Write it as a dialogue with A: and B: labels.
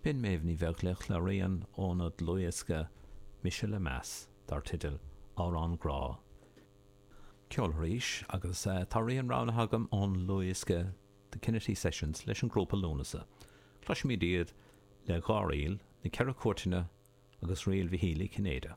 A: B'in Méabh Ní Bheaglaoich le rian óna dlúthdhiosca Mise le Meas dar teideal Amhrán Grá. Ceol arís agus tá rian roghnaithe agam ón ndlúthdhiosca The Kinnitty Sessions leis an ngrúpa Lúnasa. Cloisfimid iad le dhá ríl, Na Ceithre Cúirteanna agus Ríl Mhichíl Uí Chinnéide.